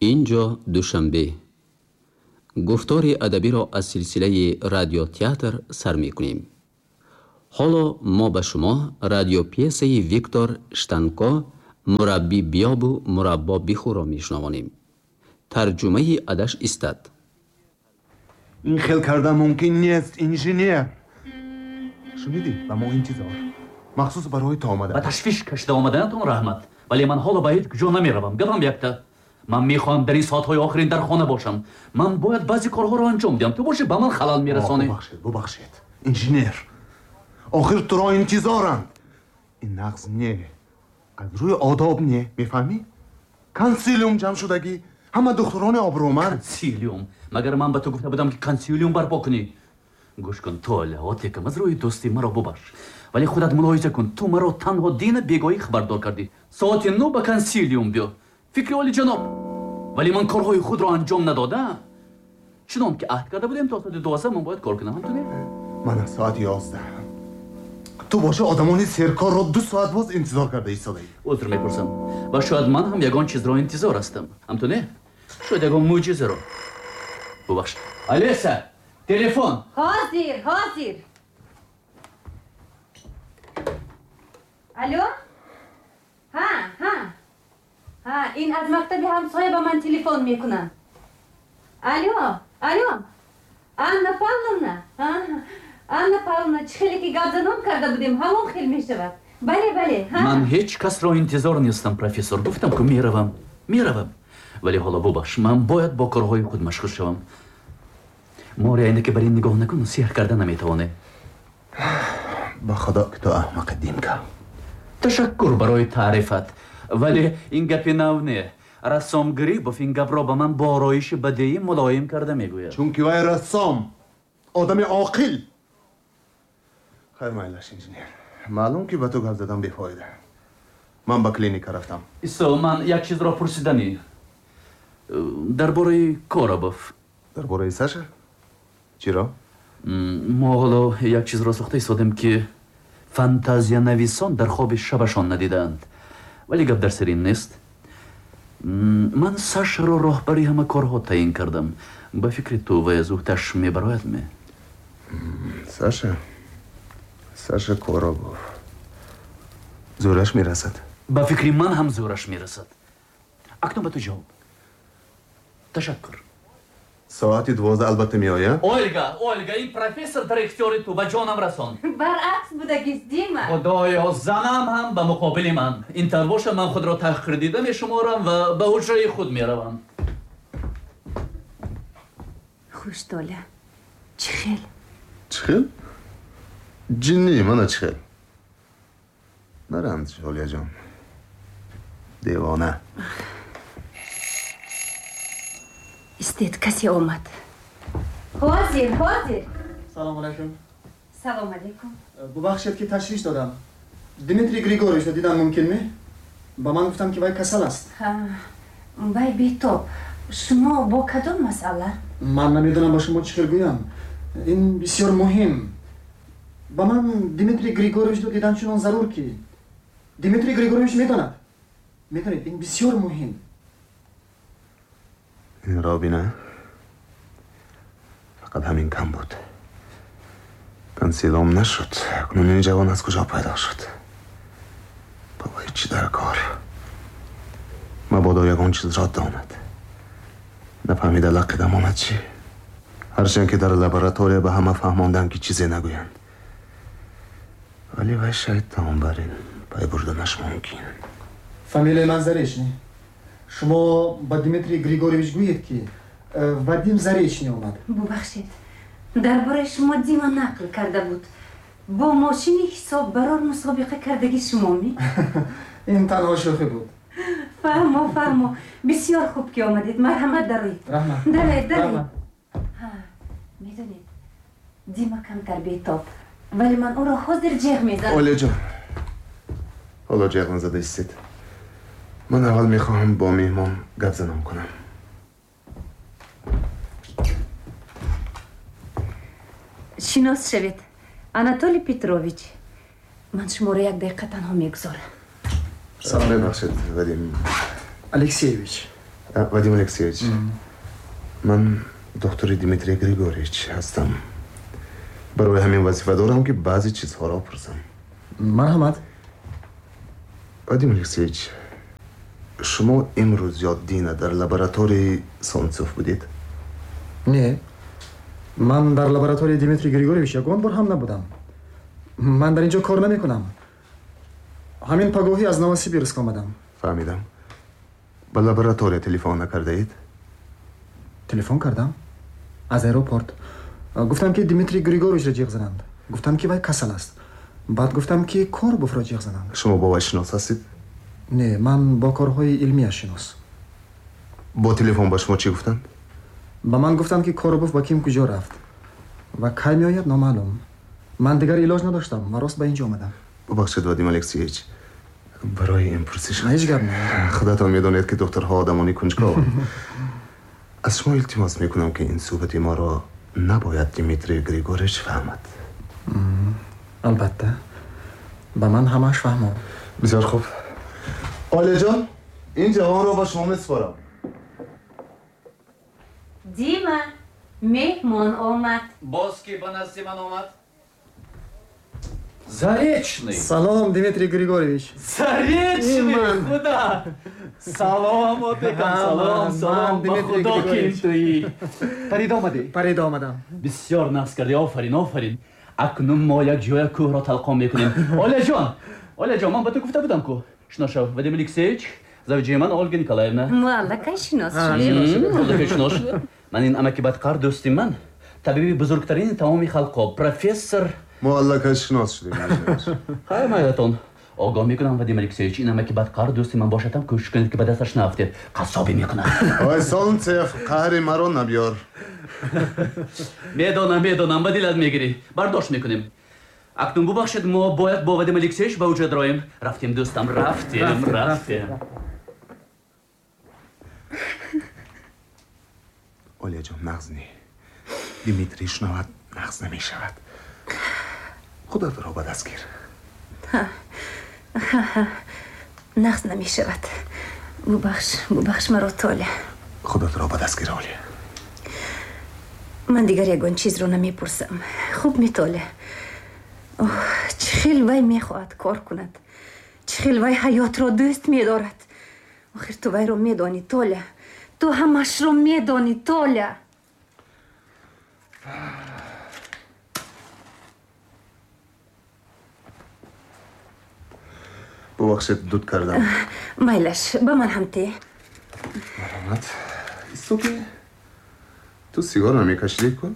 Инҷо Душанбе. Гуфтори адабиро аз силсилаи радиотеатр сар мекунем. Ҳоло мо ба шумо радиопьесаи Виктор Штанко «Мураббӣ биёбу мураббо бихӯрро» мешунавонем. Тарҷумаи адаш истад. Ин хел кардан мумкин нест, инженер. Шунидӣ, ба мо интизор. Махсус барои ту омада. Ба ташвиш кашида омаданатон раҳмат, вале ман ҳоло ба ҳеҷ куҷо намеравам. Гапам якта. Ман мехоҳам дар ин соатҳои охирин дар хона бошам. Ман бояд баъзе корҳоро анҷом диҳам. Ту бошӣ, ба ман халал мерасонӣ. Бубахшед, бубахшед, инженер. Охир туро интизоранд. Ин нағз не, аз рӯи одоб не, мефаҳмӣ? Консилиум ҷамъ шудагӣ, ҳама духтурони обрӯманд. Консилиум? Магар ман ба ту гуфта будам, ки консилиум барпо кунӣ? Гӯш кун, Толя, отекам, аз рӯи дӯстӣ маро бубахш, вале худат мулоҳиза кун: ту маро танҳо дина бегоҳӣ хабардор кардӣ. Соати 9 ба консилиум биё. Фикри олиҷаноб, вале ман корҳои худро анҷом надодаам. Чунон ки аҳд карда будем, то соати 12 ман бояд кор кунам. Ҳамту не? Ман аз соати 11. Ту боши, одамони серкорро 2 соат боз интизор карда истодаӣ. Узр мепурсам, ва шояд ман ҳам ягон чизро интизор ҳастам. Ҳамту не? Шояд ягон мӯъҷизаро. Бубахш. Алеса, телефон. Ҳозир, ҳозир. Алло, ҳа, ҳа, ҳа, ин аз мактаби ҳамсоя ба ман телефон мекунанд. Алло, алло, Анна Павловна. Анна Павловна, чӣ хеле ки гапзанон карда будем, ҳамон хел мешавад. Бале, бале. Ман ҳеҷ касро интизор нестам, профессор. Гуфтам ку, меравам, меравам. Вале ҳоло бубахш, ман бояд бо корҳои худ машғул шавам. Мори айнаке бар ин нигоҳ накун, сеҳр карда наметавонӣ. Ба худо ки ту аҳмақи, Димка. Ташаккур барои таърифат, вале ин гапи нав не. Рассом Грибов ин гапро ба ман бо ороиши бадеӣ мулоим карда мегӯяд. Чунки вай рассом, одами оқил. Хайр, майлаш, инженер. Маълум ки ба ту гап задан бефоида. Ман ба клиника рафтам. Исо, ман як чизро пурсиданӣ дар бораи Коробов. Дар бораи Саша? Чиро? Мо ҳоло як чизро сохта истодем, ки фантазиянависон дар хоби шабашон надидаанд, вале гап дар сари ин нест. Ман Сашаро роҳбари ҳама корҳо таъин кардам. Ба фикри ту, вай аз уҳдаш мебарояд ме? Саша, Саша Коробов зӯраш мерасад. Ба фикри ман ҳам зӯраш мерасад. Акнун ба ту ҷавоб. Ташаккур. Соати 12 албатта меояд. Ольга, Ольга, ин профессор дар ихтиёри ту, ба ҷонам расон. Баръакс будагист, Дима. Худоё, занам ҳам ба муқобили ман. Ин тавр бошад, ман худро таҳқирдида мешуморам ва ба ҳуҷраи худ меравам. Хуш, Толя, чӣ хел? Чӣ хел? Ҷиннӣ, мана чӣ хел. Наранҷ, Олияҷон, девона. Истед, касе омад. Ҳозир, ҳозир. Салом алайкум. Салом алайкум. Бубахшед, ки ташвиш додам. Дмитрий Григорьевичро дидан мумкин ме? Ба ман гуфтам, ки вай касал аст. Вай бетоб. Шумо бо кадом масъала? Ман намедонам, ба шумо чӣ хел гӯям. Ин бисёр муҳим. Ба ман Дмитрий Григорьевичро дидан чунон зарур, ки Дмитрий Григорьевич медонад. Медонед, ин бисёр муҳим. Инро бина, фақат ҳамин кам буд. Консилиум нашуд, акнун ин ҷавон аз куҷо пайдо шуд? Ба вай чӣ дар кор? Мабодо ягон чизро донад, нафаҳмида лақида монад чӣ? Ҳарчанд ки дар лаборатория ба ҳама фаҳмондам, ки чизе нагӯянд, вале вай шайтон, бар ин пай бурданаш мумкин. Фамилияи ман Заречный. Шумо ба Дмитрий Григорьевич гӯед, ки Вадим Заречный омад. Бубахшед, дар бораи шумо Дима нақл карда буд. Бо мошини ҳисоббарор мусобиқа кардаги шумо ми? Ин танҳо шӯхӣ буд. Фаҳмо, фаҳмо. Бисёр хуб, ки омадед. Марҳамат, дароед. Раҳмат. Дароед, дароед. Медонед, Дима камтар бетоб, вале ман ӯро ҳозир ҷеғ мезанам. Олияҷон, ҳоло ҷеғ назада истед. Ман аввал мехоҳам бо меҳмон гап занон кунам. Шинос шавед, Анатолий Петрович. Ман шуморо як дақиқа танҳо мегузорам. Мебахшед, Вадим Алексеевич. Вадим Алексеевич, ман доктори Дмитрий Григорьевич ҳастам. Барои ҳамин вазифа дорам, ки баъзе чизҳоро пурсам. Марҳамат. Вадим Алексеевич, шумо имрӯз ё дина дар лабораторияи Солнцев будед? Не, ман дар лабораторияи Дмитрий Григорьевич ягон бор ҳам набудам. Ман дар ин ҷо кор намекунам. Ҳамин пагоҳӣ аз Новосибирск омадам. Фаҳмидам. Ба лаборатория телефон накардаед? Телефон кардам. Аз аэропорт. Гуфтам, ки Дмитрий Григорьевичро ҷиғ зананд. Гуфтам, ки вай касал аст. Баъд гуфтам, ки Коробовро ҷиғ зананд. Шумо бо вай шинос ҳастед? Не, ман бо корҳои илмияш шинос. Бо телефон ба шумо чӣ гуфтанд? Ба ман гуфтанд, ки Коробов ба ким куҷо рафт ва кай меояд, номаълум. Ман дигар илоҷ надоштам ва рост ба ин ҷо омадам. Бубахшед, Вадим Алексеевич, барои ин пурсиш. Ҳеҷ гап не. Худатон медонед, ки докторҳо одамони кунҷков. Аз шумо илтимос мекунам, ки ин суҳбати моро набояд Дмитрий Григорьевич фаҳмад. Албатта, ба ман ҳамааш фаҳмон. Бисёр хуб. Олияҷон, ин ҷавонро ба шумо месупорам. Дима, меҳмон омад. Боз ки ба назди ман омад? Заречный. Салом, Дмитрий Григорьевич. Заречный, худо. Салом, отекам, салом, салом. Ба худо, ки туӣ. Парида омадӣ? Парида омадам. Бисёр нағз кардӣ, офарин, офарин. Акнун мо як ҷоя кӯҳро талқон мекунем. Оляҷон, Оляҷон, ман ба ту гуфта будам ку. Шинос шав, Вадим Алексеевич, завҷаи ман Ольга Николаевна. Мо аллакай шинос шудем. Аллакай шинос шудем. Ман ин амаки бадқар дӯсти ман, табиби бузургтарини тамоми халқҳо, профессор. Мо аллакай шинос шудем. Хайр, майлатон. Огоҳ мекунам, Вадим Алексеевич, ин амаки бадқар дӯсти ман бошад ҳам, кӯшиш кунед, ки ба дасташ наафтед. Қассобӣ мекунад. Ой, Солнцев, қаҳри маро набиёр. Медонам, медонам, ба дилат мегирӣ. Бардошт мекунем. Акнун бубахшед, мо бояд бо Вадим Алексеевич ба уҷа дароем. Рафтем, дӯстам, рафтем, рафтем. Олияҷон, нағз не. Дмитрий шунавад, нағз намешавад. Худатро ба даст гир. Нағз намешавад. Бубахш, бубахш маро, Толя. Худатро ба даст гир, Олия. Ман дигар ягон чизро намепурсам. Хуб ми, Толя? Оҳ, чӣ хел вай мехоҳад кор кунад. Чӣ хел вай ҳаётро дӯст медорад. Охир ту вайро медонӣ, Толя. Ту ҳамашро медонӣ, Толя. Бубахшед, дуд кардам. Майлаш, ба ман ҳам те. Марҳамат. Истоки, ту сигор намекашидӣ ку?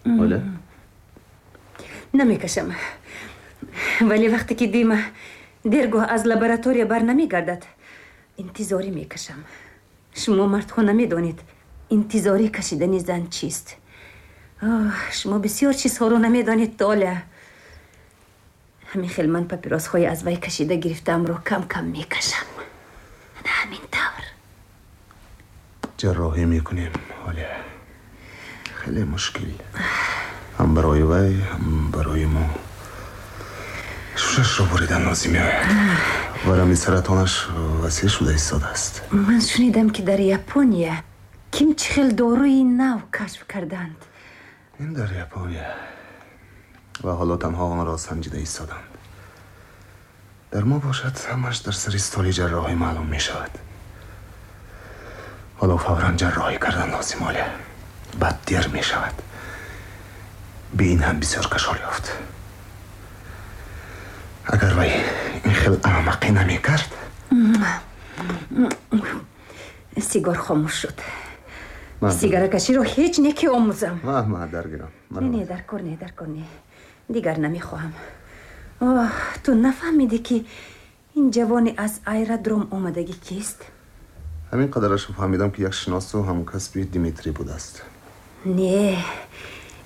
Оля? Намекашам. Вале вақте ки Дима дергоҳ аз лаборатория бар намегардад, интизорӣ мекашам. Шумо мардҳо намедонед, интизорӣ кашидани зан чист. Оҳ, шумо бисёр чизҳоро намедонед, Толя. Ҳамин хел ман папиросҳои аз вай кашида гирифтаамро кам-кам мекашам. На ҳамин тавр. Ҷарроҳӣ мекунем, Оля. Хеле мушкил. Ҳам барои вай, ҳам барои мо. Шушашро буридан лозим меояд. Варами саратонаш васеъ шуда истодааст. Ман шунидам, ки дар Япония ким чӣ хел доруи нав кашф карданд. Ин дар Япония ва ҳоло танҳо онро санҷида истоданд. Дар мо бошад, ҳамаш дар сари столи ҷарроҳӣ маълум мешавад. Ҳоло фавран ҷарроҳӣ кардан лозим, Оля. Баъд дер мешавад. Бе ин ҳам бисёр кашол ёфт. Агар вай ин хел аҳмақӣ намекард. Сигор хомӯш шуд. Сигаракаширо ҳеҷ не ки омӯзам. Ма даргирам. Не, не, дар кор не, дар кор не. Дигар намехоҳам. Оҳ, ту нафаҳмидӣ, ки ин ҷавони аз аэродром омадагӣ кист? Ҳамин қадарашро фаҳмидам, ки як шиносу ҳамкасби Дмитрий будааст. Не,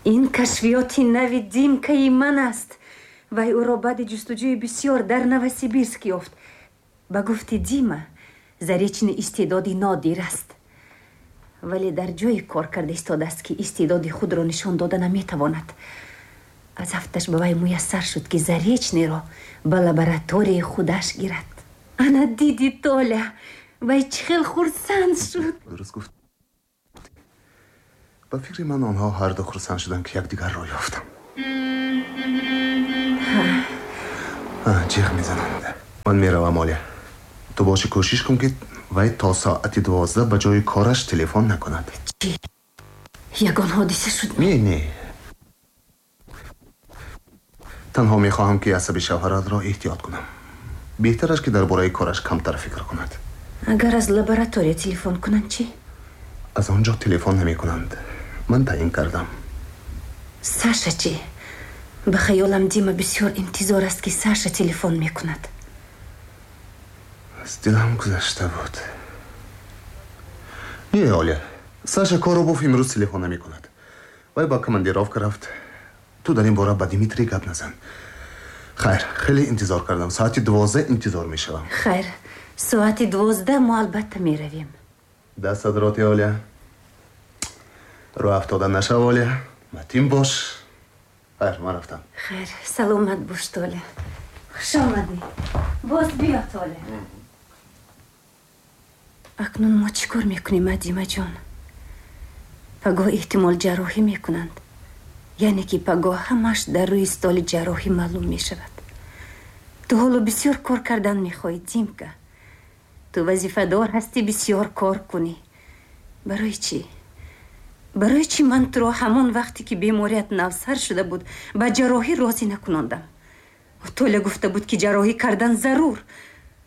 ин кашфиёти нави Димкаи ман аст. Вай ӯро баъди ҷустуҷӯи бисёр дар Новосибирск ёфт. Ба гуфти Дима, Заречный истеъдоди нодир аст. Вале дар ҷое кор карда истодааст, ки истеъдоди худро нишон дода наметавонад. Аз ҳафташ ба вай муяссар шуд, ки Заречныйро ба лабораторияи худаш гирад. Ана диди, Толя, вай чӣ хел хурсанд шуд. Дуруст гуфт. Ба фикри ман, онҳо ҳарду хурсанд шуданд, ки якдигарро ёфтам. Ҷиғ мезананд. Ман меравам, Оля. Ту боши, кӯшиш кун, ки вай то соати 12 ба ҷои кораш телефон накунад. Чӣ, ягон ҳодиса шуд? Не, не, танҳо мехоҳам, ки асаби шавҳаратро эҳтиёт кунам. Беҳтар аст, ки дар бораи кораш камтар фикр кунад. Агар аз лаборатория телефон кунанд чӣ? Аз он ҷо телефон намекунанд, ман таъин кардам. Саша чӣ? Ба хаёлам, Дима бисёр интизор аст, ки Саша телефон мекунад. Аз дилам гузашта буд. Не, Оля, Саша Коробов имрӯз телефон намекунад, вай ба командировка рафт. Ту дар ин бора ба Дмитрий гап назан. Хайр, хеле интизор кардам, соати 12 интизор мешавам. Хайр, соати 12 мо албатта меравем. Дастат роти, Оля. Рӯ афтода нашав, Оля, матин бош. Хайр, ман рафтам. Хайр, саломат бош, Толя. Хуш омадӣ, боз биё, Толя. Акнун мо чӣ кор мекунем, а, Димаҷон? Пагоҳ эҳтимол ҷарроҳӣ мекунанд, яъне ки пагоҳ ҳамаш дар рӯи столи ҷарроҳӣ маълум мешавад. Ту ҳоло бисёр кор кардан мехоҳӣ, Димка. Ту вазифадор ҳастӣ бисёр кор кунӣ. Барои чӣ, барои чӣ ман туро ҳамон вақте ки беморият навсар шуда буд, ба ҷарроҳӣ розӣ накунондам? Толя гуфта буд, ки ҷарроҳӣ кардан зарур.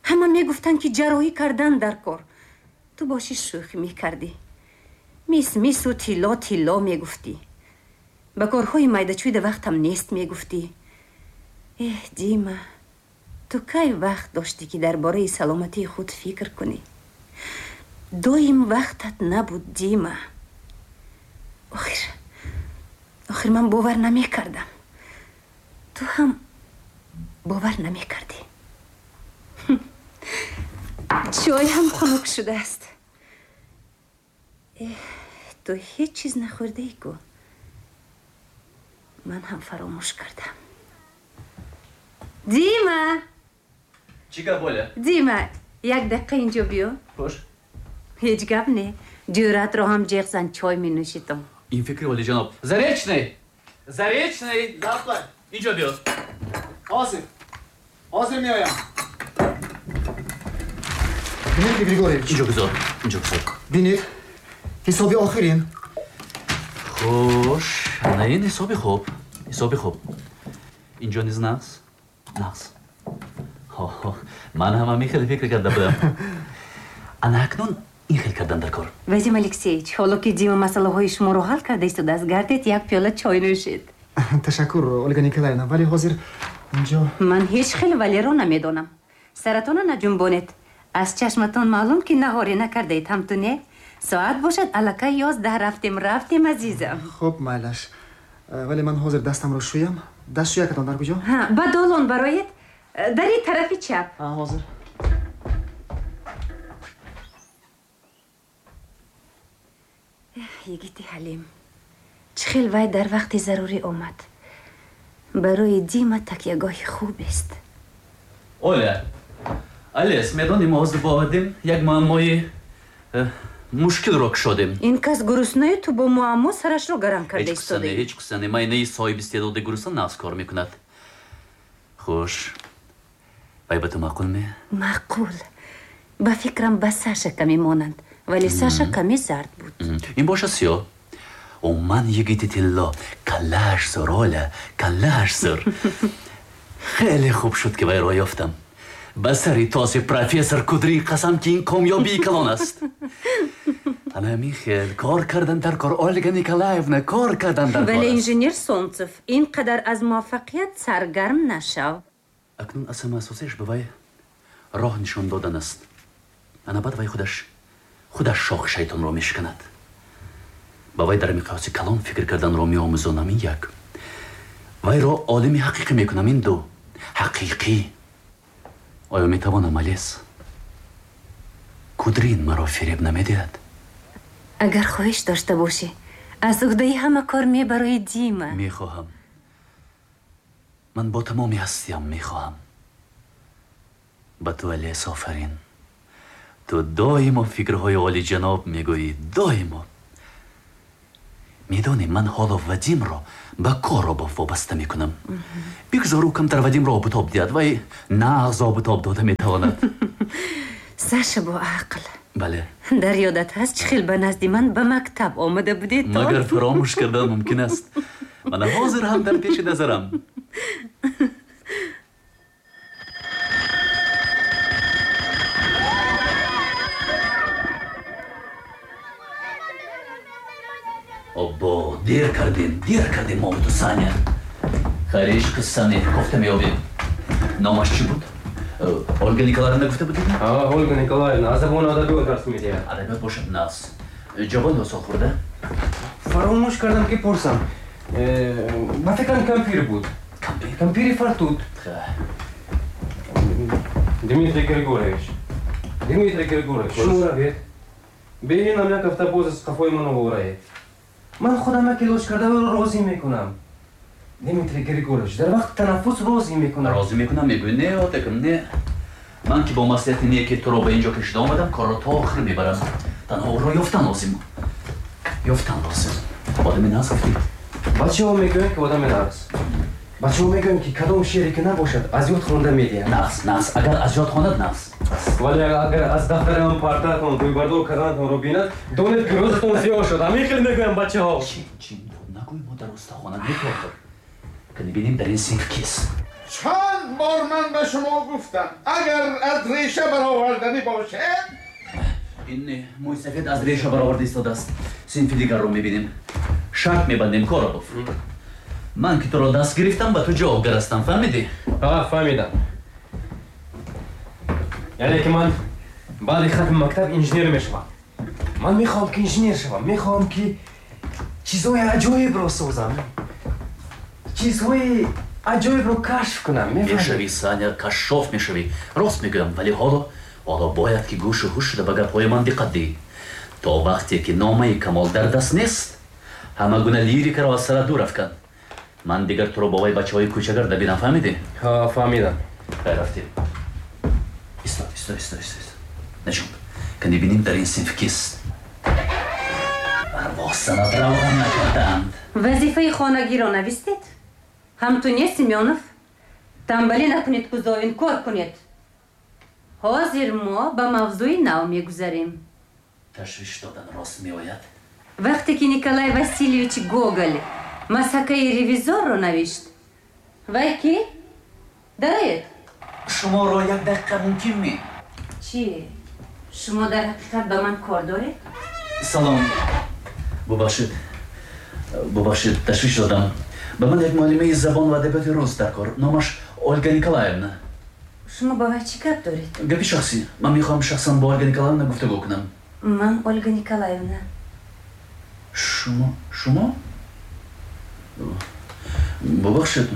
Ҳама мегуфтанд, ки ҷарроҳӣ кардан дар кор. Ту бошӣ, шӯхӣ мекардӣ, мис мису тилло тилло мегуфтӣ, ба корҳои майдачӯйда вақтам нест мегуфтӣ. Эҳ, Дима, ту кай вақт доштӣ, ки дар бораи саломатии худ фикр кунӣ? Доим вақтат набуд, Дима. Охир, охир ман бовар намекардам, ту ҳам бовар намекардӣ. Чой ҳам хунук шудааст. Ту ҳеҷ чиз нахӯрдаӣ ку. Ман ҳам фаромӯш кардам. Дима! Чӣ гап, Оля? Дима, як дақиқа инҷо биё. Хуш. Ҳеҷ гап не. Ҷӯратро ҳам ҷеғ зан, чой менӯшитам. Ин фикри олиҷаноб. Заречный, Заречный! Лаббай. Инҷо биё. Ҳозир, ҳозир меоям, Дмитрий Григорьевич. Инҷо гузор, инҷо гузор. Бинед, ҳисоби охирин. Хуш, ана ин ҳисоби хуб, ҳисоби хуб. Инҷо низ нағз, нағз. Ман ҳам ҳамин хеле фикр карда будам. Ана акнун ин хел кардан дар кор. Вадим Алексеевич, ҳоло ки Дима масъалаҳои шуморо ҳал карда истодааст, гардед, як пиёла чой нӯшед. Ташаккур, Ольга Николаевна, вале ҳозир инҷо Ман ҳеҷ хел валеро намедонам. Саратона наҷунбонед. Аз чашматон маълум, ки наҳорӣ накардаед, ҳамту не? Соат бошад аллакай 11. Рафтем, рафтем, азизам. Хуб, майлаш, вале ман ҳозир дастамро шӯям. Дастшӯякатон дар куҷо? Ба долон бароед, дари тарафи чап. Ҳозир. Йигити ҳалим, чӣ хел вай дар вақти зарурӣ омад. Барои Дима такягоҳи хубест. Оля, Алес, медонӣ, мо ҳозир бо Вадим як муаммои мушкилро кушодем. Ин кас гуруснаю, ту бо муаммо сарашро гарам карда истодаӣ. Ҳеҷ қисса не. Майнаи соҳиби истеъдоди гурусна нағз кор мекунад. Хуш, вай ба ту маъқул ме? Маъқул. Ба фикрам, ба Саша каме монанд, вале Саша каме зард буд. Ин боша сиёҳ. Ман йигити тилло, каллааш зур, Оля, каллааш зур. Хеле хуб шуд, ки вайро ёфтам. Ба сари тоси профессор Кудрин қасам, ки ин комёбии калон аст. Ана ҳамин хел кор кардан дар кор, Ольга Николаевна, кор кардан дар кор. Вале, инженер Солнцев, ин қадар аз муваффақият саргарм нашав. Акнун аз ҳама асосиаш ба вай роҳ нишон додан аст. Ана баъд вай худаш худаш шохи шайтонро мешиканад. Ба вай дар миқёси калон фикр карданро меомӯзонам, ин як. Вайро олими ҳақиқӣ мекунам, ин ду. Ҳақиқӣ. Оё метавонам, Алес? Кудрин маро фиреб намедиҳад? Агар хоҳиш дошта бошӣ, аз уҳдаи ҳама кор мебарои, Дима. Мехоҳам. Ман бо тамоми ҳастиям мехоҳам. Ба ту Олесь офарин. Ту доимо фикрҳои олиҷаноб мегӯӣ, доимо. Медонӣ, ман ҳоло Вадимро ба Коробов вобаста мекунам. Бигзор ӯ камтар Вадимро обутоб диҳад, вай нағз обутоб дода метавонад. Саша бо ақл. Бале. Дар ёдат ҳаст, чӣ хел ба назди ман ба мактаб омада будед? Магар фаромӯш кардан мумкин аст? Мана ҳозир ҳам дар пеши назарам. Оббо, дер кардем, дер кардем мо ту, Саня. Хайр, ҳеҷ қисса не, кофта меёбем. Номаш чӣ буд? Ольга Николаевна гуфта будед? Ольга Николаевна аз забони адабиёт дарс медиҳад. Адабиёт бошад нағз. Ҷавон ё солхӯрда? Фаромӯш кардам ки пурсам. Ба фикрам кампир буд. Кампир? Кампири фартут. Дмитрий Григорьевич. Дмитрий Григорьевич, шумо равед. Бинам як ҳафта боз аз қафои ман овораед. Ман худам як илоҷ карда ӯро розӣ мекунам. Дмитрий Григорьевич, дар вақти танаффус розӣ мекунам. Розӣ мекунам, мегӯӣ не, отакам, не. Ман ки бо маслиҳати неки туро ба инҷо кашида омадам, корро то охир мебарам. Танҳо ӯро ёфтан лозим. Ёфтан лозим. Одами нағз гуфтӣ. Бачаҳо мегӯянд ки одами нағз. Бачаҳо мегӯянд ки кадом шеъре ки набошад, аз ёд хонда медиҳад. Нағз, нағз. Агар аз ёд хонад, нағз. Вале агар аз дафтари ман партаатон рӯйбардор карданатонро бинад, донед ки рӯзатон сиёҳ шуд. Ҳамин хел мегӯям бачаҳо. Чин, чин, нагӯй мо дар устахона мекохир. Кани бинем дар ин синф кист. Чанд бор ман ба шумо гуфтам, агар аз реша бароварданӣ бошед. Ин мӯи сафед аз реша бароварда истодааст. Синфи дигарро мебинем. Шарт мебандем, Коробов. Ман ки туро даст гирифтам, ба ту ҷавобгар ҳастам, фаҳмидӣ? Фаҳмидам. Яъне ки ман баъди хатми мактаб инженер мешавам. Ман мехоҳам ки инженер шавам, мехоҳам ки чизҳои аҷоибро созам, чизҳои аҷоибро кашф кунам. Мешавӣ, Саня, кашшоф мешавӣ. Рост мегӯям, вале ҳоло бояд ки гӯшу ҳуш шуда ба гапҳои ман диққат диҳӣ. То вақте ки номаи Камол дар даст нест, ҳама гуна лирикаро аз сара дур афкан. Ман дигар туро бо вай бачаҳои кӯчагарда бинам, фаҳмидӣ? Фаҳмидам. Хайр, рафтем. Исто, исто, исто, исто. Наҷунб, кани бинем дар ин синф кист. Арвоҳ равған накардаанд. Вазифаи хонагиро навистед? Ҳам ту не, Семёнов? Тамбалӣ накунед, Кузовин, кор кунед. Ҳозир мо ба мавзӯи нав мегузарем. Ташвиш додан рост меояд? Вақте ки Николай Васильевич Гоголь масакаи ревизорро навишт, вай ки? Дароед. Шуморо як дақиқа мумкин ме? Чӣ? Шумо дар ҳақиқат ба ман кор доред? Салом. Бубахшед. Бубахшед, ташвиш додам. Ба ман як муаллимаи забон ва адабиёти рус дар кор. Номаш Ольга Николаевна. Шумо ба вай чӣ гап доред? Гапи шахсӣ. Ман мехоҳам шахсан бо Ольга Николаевна гуфтугӯ кунам. Ман Ольга Николаевна. Шумо? Шумо? Бубахшед.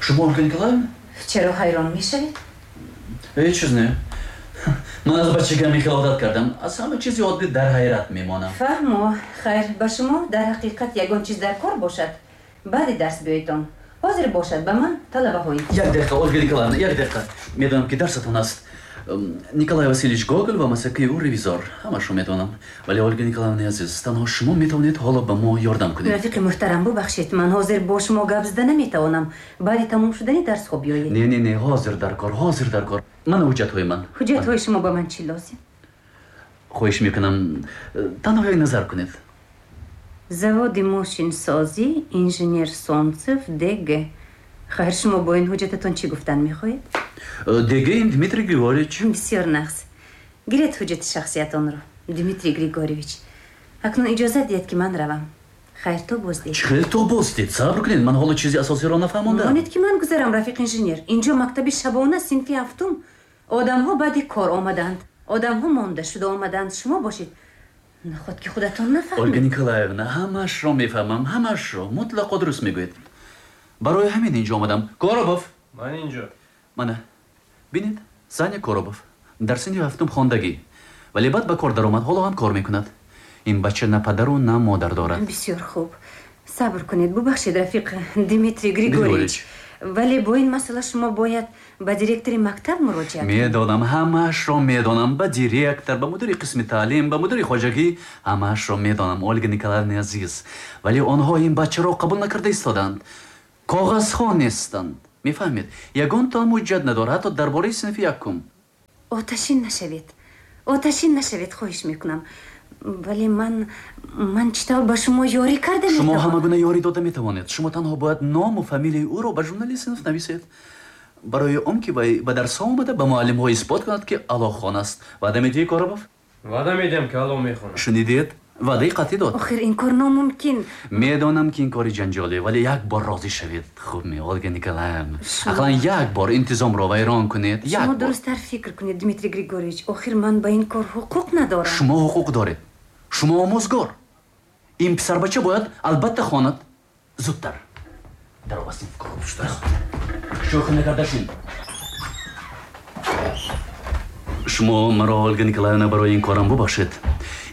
Шумо Ольга Николаевна? Чаро ҳайрон мешавед? Ҳеҷ чиз не. Ман аз бачагиам хеле одат кардам. Аз ҳама чизи оддӣ дар ҳайрат мемонам. Фаҳмо. Хайр, ба шумо дар ҳақиқат ягон чиз дар кор бошад, баъди дарс биёедон. Ҳозир бошад ба ман талабаҳои. Як дақиқа, Ольга Николаевна, як дақиқа. Медонам ки дарсатон аст. Николай Васильевич Гоголь ва масакаи ӯ ревизор. Ҳамашро медонам. Вале Ольга Николаевна азиз, танҳо шумо метавонед ҳоло ба мо ёрдам кунед. Рафиқи муҳтарам, бубахшед, ман ҳозир бо шумо гап зада наметавонам. Баъди тамом шудани дарсҳо биёед. Не, не, не, ҳозир дар кор, ҳозир дар кор. Мана ҳуҷҷатҳои ман. Ҳуҷҷатҳои шумо ба ман чӣ лозим? Хоҳиш мекунам, танҳо як назар кунед. Заводи мошинсозӣ, инженер Солнцев, ДГ. Хайр, шумо бо ин ҳуҷҷататон чӣ гуфтан мехоҳед? ДГ ин Дмитрий Григорьевич. Бисёр нағз. Гиред ҳуҷҷати шахсиятонро, Дмитрий Григорьевич. Акнун иҷозат диҳед ки ман равам. Хайр, то боздид. Чӣ хел то боздид? Сабр кунед, ман ҳоло чизи асосиро нафаҳмондам. Монед ки ман гузарам, рафиқ инженер. Инҷо мактаби шабона, синфи ҳафтум. Одамҳо баъди кор омаданд. Одамҳо монда шуда омаданд. Шумо бошед. Наход ки худатон нафаҳмед. Ольга Николаевна, ҳамаашро мефаҳмам, ҳамаашро. Мутлақо дуруст мегӯед. Барои ҳамин инҷо омадам. Коробов. Ман инҷо. Мана, бинед, Саня Коробов. Дар синфи ҳафтум хондагӣ. Вале баъд ба кор даромад, ҳоло ҳам кор мекунад. Ин бача на падару на модар дорад. Бисёр хуб. Сабр кунед, бубахшед, рафиқ Дмитрий Григорьевич. Вале бо ин масъала шумо бояд ба директори мактаб муроҷиат кунед. Медонам, ҳамаашро медонам. Ба директор, ба мудири қисми таълим, ба мудири хоҷагӣ, ҳамаашро медонам, Ольга Николаевна азиз. Вале онҳо ин бачаро қабул накарда истоданд. Коғазҳо нестанд. Мефаҳмед, ягонтаам ҳуҷҷат надорад, ҳатто дар бораи синфи якум. Оташин нашавед. Оташин нашавед, хоҳиш мекунам. Вале ман чӣ тавр ба шумо ёрӣ карда Шумо метавонам? ҳама гуна ёрӣ дода метавонед. Шумо танҳо бояд ному фамилияи ӯро ба журнали синф нависед. Барои он ки вай ба дарсҳо омада ба муаллимҳо исбот кунад, ки аълохон аст. Ваъда медиҳӣ, Коробов? Ваъда медиҳам, ки аъло мехонам. Шунидед? Ваъдаи қатъӣ дод. Охир ин кор номумкин. Медонам, ки ин кори ҷанҷолӣ, вале як бор розӣ шавед. Хуб ме, Ольга Николаевна? Ақаллан як бор интизомро вайрон кунед. Як Шумо бор. дурусттар фикр кунед, Дмитрий Григорьевич. Охир ман ба ин кор ҳуқуқ надорам. Шумо ҳуқуқ доред. Шумо омӯзгор. Ин писарбача бояд албатта хонад. Зудтар. Даро ба синф, Коробов. Шӯхӣ накарда шин. Шумо маро, Ольга Николаевна, барои ин корам бубахшед.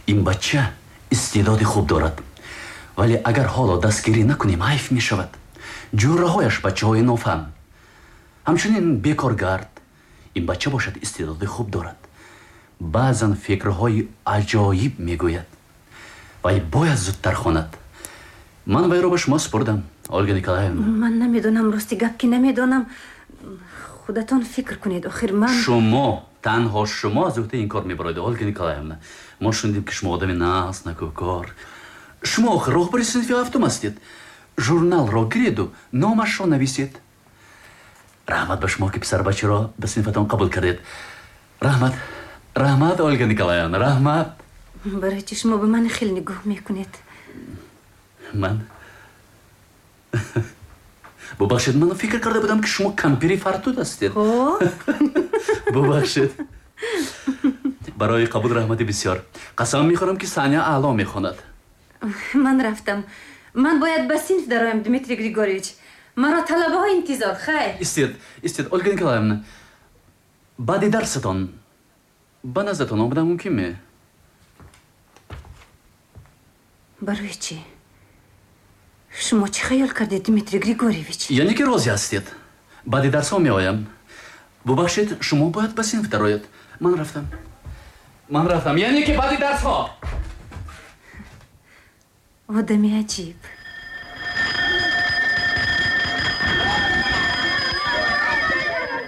Ин бача истеъдоди хуб дорад. Вале агар ҳоло дастгирӣ накунем, ҳайф мешавад. Ҷӯраҳояш бачаҳои нофаҳм. Ҳамчунин бекоргард. Ин бача бошад истеъдоди хуб дорад. Баъзан фикрҳои аҷоиб мегӯяд. Вай бояд зудтар хонад. Ман вайро ба шумо супурдам, Ольга Николаевна. Ман намедонам, рости гап ки намедонам. Худатон фикр кунед. Охир ман Шумо, танҳо шумо аз уҳдаи ин кор мебароед, Ольга Николаевна. Мо шунидем, ки шумо одами нағз, накӯкор. Шумо охир роҳбари синфи ҳафтум ҳастед. Журналро гиреду номашро нависед. Раҳмат ба шумо, ки писарбачаро ба синфатон қабул кардед. Раҳмат, раҳмат, Ольга Николаевна, раҳмат. Барои чӣ шумо ба ман хел нигоҳ мекунед? Ман, бубахшед, ман фикр карда будам, ки шумо кампири фартут ҳастед. Бубахшед. Барои қабул раҳмати бисёр. Қасам мехӯрам, ки Саня аъло мехонад. Ман рафтам. Ман бояд ба синф дароям, Дмитрий Григорьевич. Маро талабаҳо интизор. Хайр. Истед, истед, Ольга Николаевна. Баъди дарсатон ба наздатон омадан мумкин ме? Барои чӣ? Шумо чӣ хаёл кардед, Дмитрий Григорьевич? Яъне ки розӣ ҳастед. Баъди дарсҳо меоям. Бубахшед, шумо бояд ба синф дароед. Ман рафтам. Ман рафтам. Яъне ки баъди дарсҳо. Одами аҷиб.